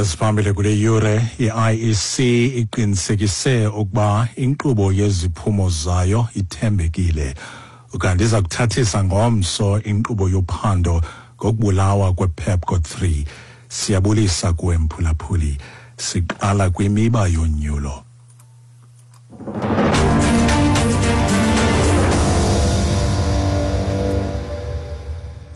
Esiphambili kule yure, i-IEC iqinisekise ukuba inkqubo yeziphumo zayo ithembekile. Ukanti iza kuthathisa ngomso inkqubo yophando ngokubulawa kwePepco 3. Siyabulisa kuwe mphulaphuli. Siqala kwimiba yonyulo.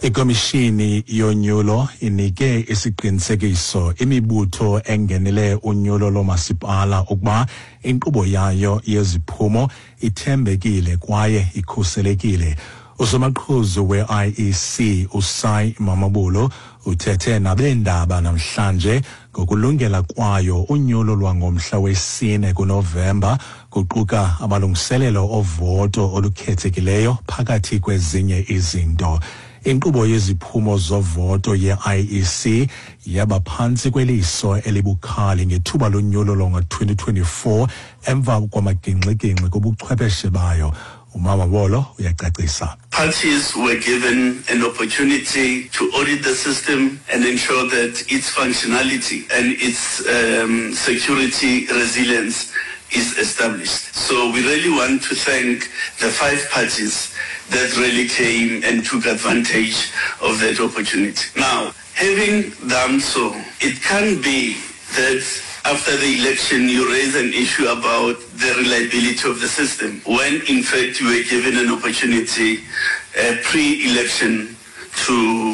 Ikomishini yonyulo inike isiqinisekiso imibutho engenele unyulo lomasipala ukuba inkqubo yayo yeziphumo ithembekile kwaye ikhuselekile. Usomaqhuzu we-IEC uSai Mamabolo uthethe nabeendaba namhlanje ngokulungela kwayo unyulo lwangomhla wesine kuNovemba, kuquka amalungiselelo ovoto olukhethekileyo phakathi kwezinye izinto. Inkqubo yeziphumo zovoto ye-IEC yaba phantsi kweliso elibukhali ngethuba lonyulo lwango-2024 emva kwamagingxigingxi kubuchwepheshe bayo. UMamabolo uyacacisa. Parties were given an opportunity to audit the system and ensure that its functionality and its security resilience is established. So we really want to thank the 5 parties that really came and took advantage of that opportunity. Now, having done so, it can be that after the election you raise an issue about the reliability of the system, when in fact you were given an opportunity pre-election to